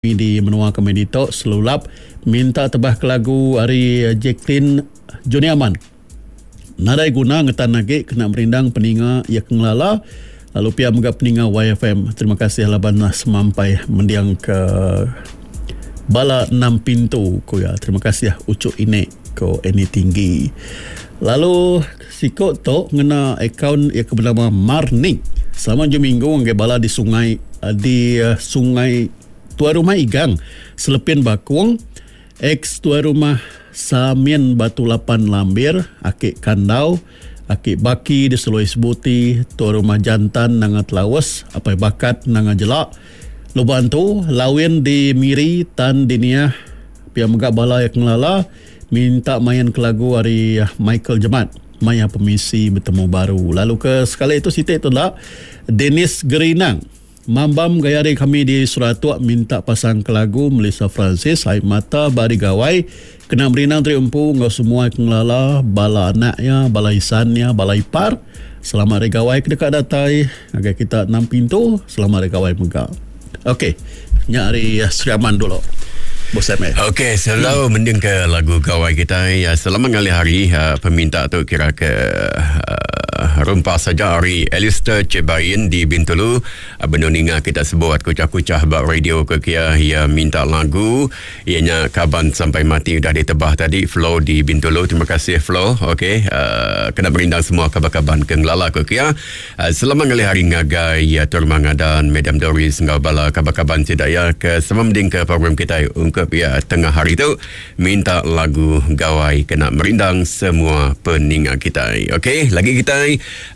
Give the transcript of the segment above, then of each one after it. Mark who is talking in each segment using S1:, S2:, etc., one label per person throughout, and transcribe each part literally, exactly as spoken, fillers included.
S1: Di menua kami ditu Selulap minta tebah ke lagu ari Jacklyn Johnny Aman. Nadai guna ngetan agi kena merindang peninga iya ke ngelala lalu pia mega peninga Y F M. Terima kasih laban semampai mending ke bala enam pintu ku iya. Terima kasih ucuk inek ko Annie Tinggi. Lalu siko tu ngena akaun iya ke bernama Marnik. Selamat ujung minggu ngagai bala di sungai di sungai Tuai Rumah Igang, Selepin Bakung, ex Tuai Rumah Samin Batu Lapan Lambir, Aki Kandau, Aki Baki di Seloi Sebuti, Tuai Rumah Jantan Nanga Telaus, Apai Bakat Nanga Jelak, Lubang Antu, Lawin di Miri, Tan di Niah, pia mega bala yang ngelala, minta main ke lagu ari Michael Jemat, Maya Pemisi Betemu Baru. Lalu ke sekali itu sitik tu lah, Dennis Gerinang. Mambam gaya hari kami di Suratuk minta pasang ke lagu Melissa Francis, Air Mata Bari Gawai, kena merinang teri empu enggau semua yang ngelala, bala anaknya, bala isannya, bala ipar. Selamat hari gawai ke dekat datai ngagai kita enam pintu, selamat hari gawai mega. Okey, nya hari Sri Aman dulu.
S2: Okey, selalu hmm. mending ke lagu gawai kita ya, selama ngalih hari uh, peminta tu kira ke uh, rumpas saja hari Alistair Cebain di Bintulu. Uh, benar ninga kita sebut kucah-kucah bak radio ke kia ia minta lagu ianya Kaban Sampai Mati udah ditebah tadi Flo di Bintulu. Terima kasih Flo. Okey, uh, kena berindang semua kaban-kaban ke ngelala ke kia. Uh, selama ngalih hari ngagai ya Turmanga dan Madam Doris ngau bala kaban-kaban sidaya ke sama mending ke program kita untuk ya tengah hari tu minta lagu gawai kena merindang semua peninga kita. Okey, lagi kita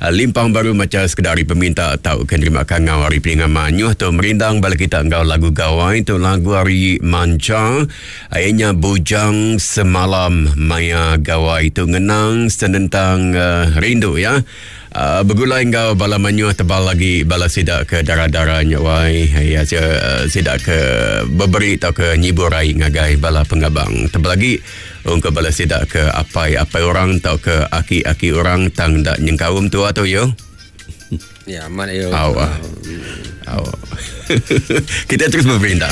S2: limpang baru macam sekedar peminta tau kena terima kangau hari peninga manyuh tu merindang bala kita enggau lagu gawai tu lagu hari manca akhirnya Bujang Semalam maya gawai tu ngenang senentang uh, rindu ya. Uh, bergulai enggau bala manyuh tebal lagi bala sidak ke darah-darahnya wai ya sidak ke beberi atau ke nyiburai ngagai bala pengabang tebal lagi untuk bala sidak ke apai-apai orang atau ke aki-aki orang tang dak nyengkaum tua tu yo.
S3: Ya amat yo.
S2: Aw. Aw. Kita terus berperintang.